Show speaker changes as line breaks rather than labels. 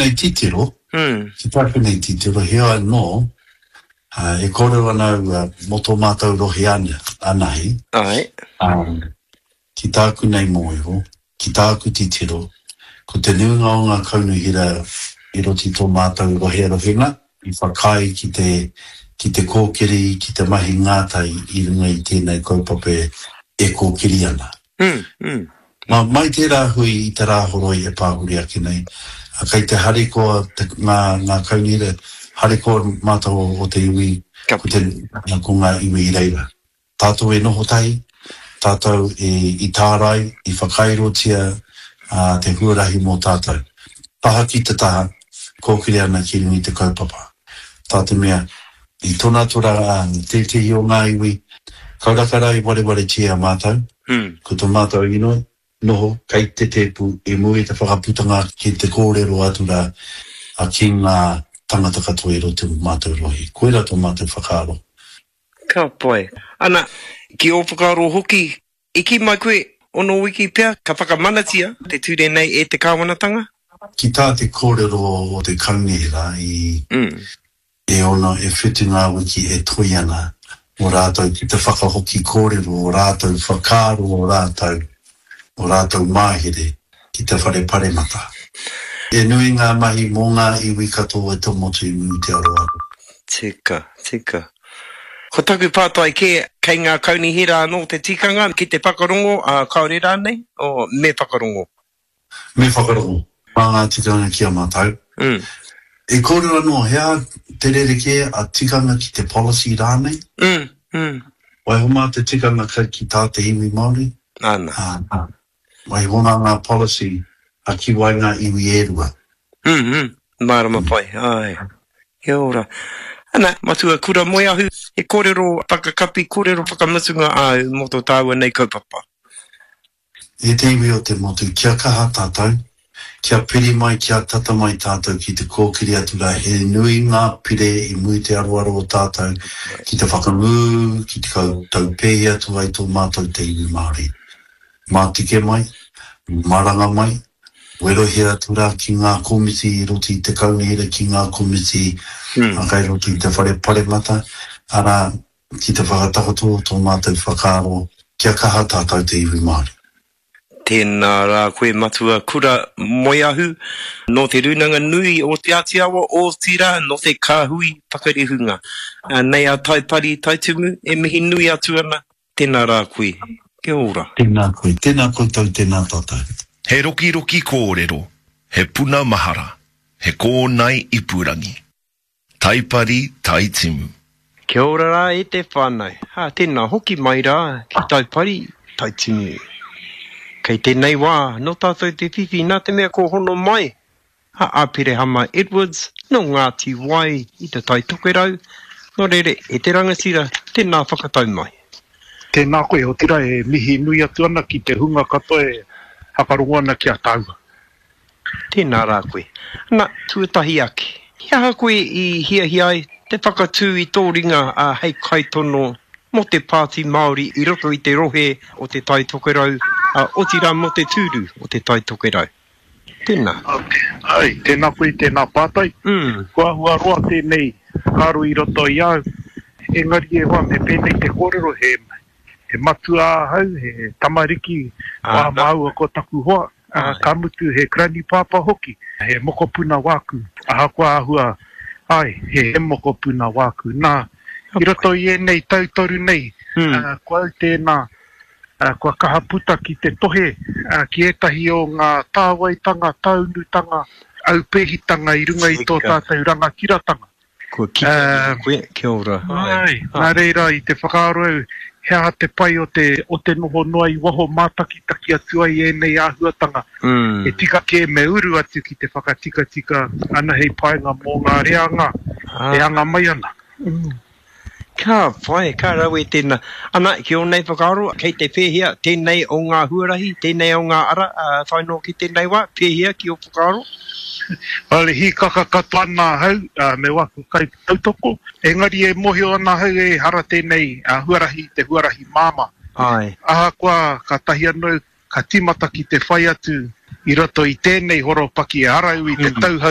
nei titiro, ki tāku nei titiro, heoi anō, e kōrero ana au mō tō mātou rohe anahe, ki tāku nei mōhio, ki tāku titiro, ko te nuinga o ngā kaunihera i roto i tō mātou rohe rohenga, i whakaae ki te, ki te kōkiri, ki te mahi ngātahi i runga i tēnei kaupapa e kōkiri ana. Nā, mai tērā hui i te Rāhoroi e pāhuri ake nei, kei te harikoa te, ngā, ngā kaunihera, harikoa mātou o te iwi, ko te, ko ngā iwi i reira. Tātou e noho tahi, tātou e, i tārai, i whakairotia te huarahi mō tātou. Taha ki te taha, kōkiri ana ki runga i te kaupapa. Tā te mea, i tona tora tētehi o ngā iwi, kauraka rā i warewaretia e mātou, ko to mātou inoi, noho kei te tēpu i mua i te whakaputanga ki te kōrero atu rā ki ngā tangata katoa i roto i mātou rohe. Koirā tō mātou whakaaro.
Ka pai. Ana, ki ō whakaaro hoki, i kī mai koe, ono wiki pea ka whakamanatia te ture nei e te kāwanatanga?
Ki tā te kōrero o te kaunihera i e ono, e whitu ngā wiki e toi ana mō rātou ki te whakahoki kōrero o rātou whakaaro o rātou, o rātou māhere ki te whare paremata. He nui ngā mahi mō ngā iwi katoa o te motu i muri te aroaro.
Tika, tika. Ko taku pātai kē, kei ngā kaunihera anō te tikanga ki te whakarongo, ā, kāore rānei, o, me whakarongo?
Me whakarongo mā ngā tikanga ki a mātou. E kōrero anō, he aha te rerekē a tikanga ki te policy rānei? Waiho mā te tikanga kai ki tā te iwi Māori.
Āna.
Waiho mā ngā policy a ki wai ngā iwi e rua.
Mārama pai, āe. Kia ora. Ana, Matua Kura Moeahu, he kōrero whakakapi, kōrero whakamutunga āu mō tō tāua nei kaupapa.
E te iwi o te motu, kia kaha tātou, kia piri mai, kia tata mai tātou ki te kōkiri atu rā, he nui ngā pire i muri te aroaro o tātou ki te whakangū, ki te taupēhi atu ai tō mātou te iwi Māori. Mātike mai, maranga mai, werohia atu rā ki ngā komiti i roto i te kaunihera, ki ngā komiti kai roto i te whare paremata, arā, ki te whakatakoto o tō mātou whakaaro kia kaha tātou te iwi Māori.
Tēnā rā koe Matua Kura Moeahu, nō Te Rūnanga Nui o Te Āti Awa, otirā nō te Kāhui Whakarihunga. Nei a Taipari Taitumu e mihi nui atu ana, tēnā rā koe, kia ora.
Tēnā koe, tēnā koutou, tēnā tātou.
He rokiroki kōrero, he puna mahara, he kōnae ipurangi. Taipari, Taitimu.
Kia ora rā e te whānau. Ā, tēnā hoki mai rā ki Taipari, Taitimu. Kei tēnei wā, nō tātou te whiwhi nā te mea kua hono mai a Aperehama Edwards nō Ngāti Wai i Te Tai Tokerau, nō reira e te rangatira, tēnā whakatau mai.
Tēnā koe, otirā e mihi nui atu ana ki te hunga katoa e whakarongo ana ki a tāua.
Tēnā rā koe. Na, tuatahi ake, he aha koe i hiahia ai te whakatū i tō ringa hei kaitono mō te Pāti Māori i roto i te rohe o Te Tai Tokerau, otirā mō te tūru o Te Tai Tokerau? Tēnā.
Āe, tēnā koe i tēnā pātai. Kua āhua roa tēnei whakaaro i roto i a au, engari e hoa me pēnei te kōrero, he He matua ahau, he tamariki wā māua ko taku hoa, ka mutu he granny pāpā hoki, he mokopuna wāku, ahakoa āhua, āe, he mokopuna wāku. Nā, i roto i ēnei tau toru nei, ko au tēnā, kua kaha puta ki te tohe ki ētahi o ngā tāwaitanga, tāunutanga, aupēhitanga i runga i tō tātou rangatiratanga.
Kua kite i a koe, kia ora.
Āe, nā reira i te whakaaro au, he aha te pai o te, o te noho noa i waho mātakitaki atu ai ēnei āhuatanga. He tika kē me uru atu ki te whakatikatika ana hei painga mō ngā reanga e anga mai ana.
Ka pai, ka rawe tēnā. Ana, ki ō nei whakaaro, kei te pēhea tēnei o ngā huarahi, tēnei o ngā ara, tae noa ki tēnei wā, pēhea ki ō whakaaro?
Well, e hīkaka katoa ana ahau me waku kaitautoko, engari e mōhio ana ahau ehara tēnei huarahi i te huarahi māmā.
Āe.
Ahakoa kātahi anō ka tīmata ki te whai atu i roto i tēnei horopaki, ehara au i te tauhou.